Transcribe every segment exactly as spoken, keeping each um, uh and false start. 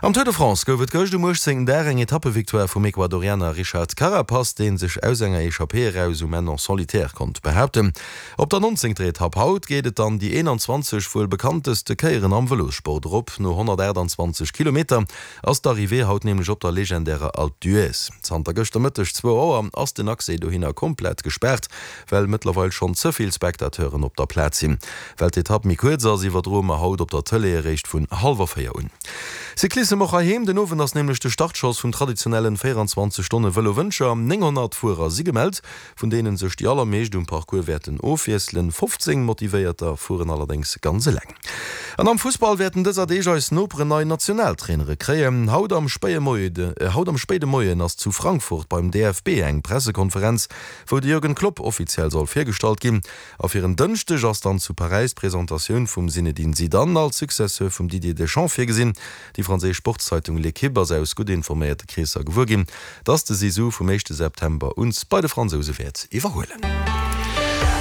Am Tour de France gouf et gëscht um uechtzéngten Dag eng Etappevictoire vum Ecuadorianer Richard Carapaz, dee sech aus enger Echappée eraus um Enn en solitaire konnt behaapten. Op der nonzéngter Etapp haut geet et dann déi eenanzwanzeg wuel bekannteste Kéieren am Vëlossport erop. No honnertaachtanzwanzeg Kilometer ass d'Arrivée haut nämlech op der legendärer Alpe d'Huez. Zanter gëschter Mëtteg zwou Auer ass den Accès dohinner komplett gespaart, well mëttlerweil schonn ze vill Spectateuren op der Plaz sinn. Well d'Etapp méi kuerz ass, iwwerdroe mer haut op der Tëlee eréischt vun hallwer véier un. Cyclissem och heiheem, Den Owend ass nämlech de Startschoss vum traditionellen véierundzwanzeg Stonne Vëlo Wëncher. nénghonnert Fuerer si gemellt, vun deene sech déi allermeescht um Parcours wäerten ofwiesselen. fofzéng Motivéierter fueren allerdéngs ganz eleng. An am Fussball wäerten dëser Deeg eis Noperen nei Nationaltrainere kréien. Haut am spéie Moie haut am spéide Moien ass zu Frankfurt beim D F B eng Pressekonferenz, wou de Jürgen Klopp offiziell soll virgestallt ginn. A fir en Dënschdeg ass dann zu Paräis d'Presentatioun vum Zinedine Zidane als Successeur vum Didier Deschamps virgesinn. Déi franséisch Sportszeitung L'Equipe ass aus gutt informéierte Kreesser gewuer ginn, dass de Zizou vum éischte September un bei de Fransouse wäert iwwerhuelen.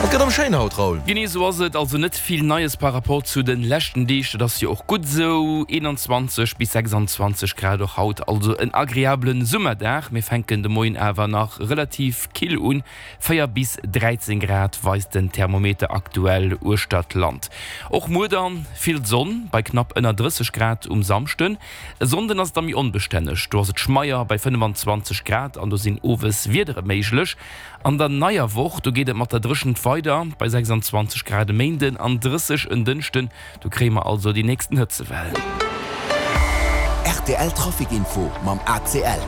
Et gëtt erëm schéin haut, Raoul. Genee esou ass et, also net vill Neies par rapport zu de leschten Deeg, dat ass jo och gutt esou. eenanzwanzeg bis sechsanzwanzeg Grad och haut, also en agreablen Summerdag. Mir fänken de Moien awer nach relativ kill un, véier bis dräizéng Grad weist den Thermometer aktuell uechter d'Land. Och muer dann vill Sonn bei knapp ënner drësseg Grad um Samschden. E Sonnden ass et da méi onbestänneg, do ass et schmeier bei fënnefanzwanzeg Grad an do sinn owes Wiedere méiglech. An der neier Woch, do geet et mat der Dréchent weider bei sechsanzwanzeg Grad e Méinden an drësseg en Dënschden. Do kréie mer also déi nächsten Hëtzewell. R T L Trafic Info mam A C L.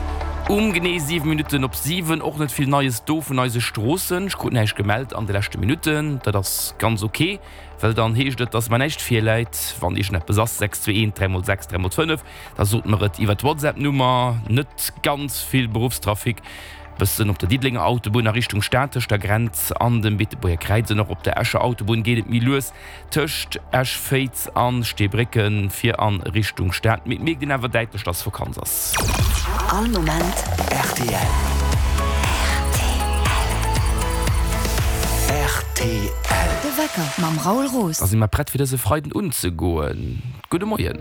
Um genee siwe Minutten op siwen, och net vill Neies do vun eise Stroossen. Ech krut näischt gemellt an de leschte Minutten. Dat ass ganz ok, well dann heescht et, dass mer näischt virläit. Wann iergendeppes ass, sechs zwee eent dräi mol sechs dräi mol fënnef, da sot mer et iwwer d'WhatsApp-Nummer. Net ganz vill Beruffstrafic, bëssen op der Diddelenger Autobunn a Richtung Stad tëscht der Grenz an dem Beetebuerger Kräiz an och op der Escher Autobunn geet et méi lues tëscht Esch-Féiz an Steebrécken fir an Richtung Stad. Mee et mierkt een awer däitlech, dass Vakanz ass. All Moment R T L. R T L. De Wecker mam Raoul Roos. Da si mer prett fir dëse Freiden unzegoen. Gudde Moien.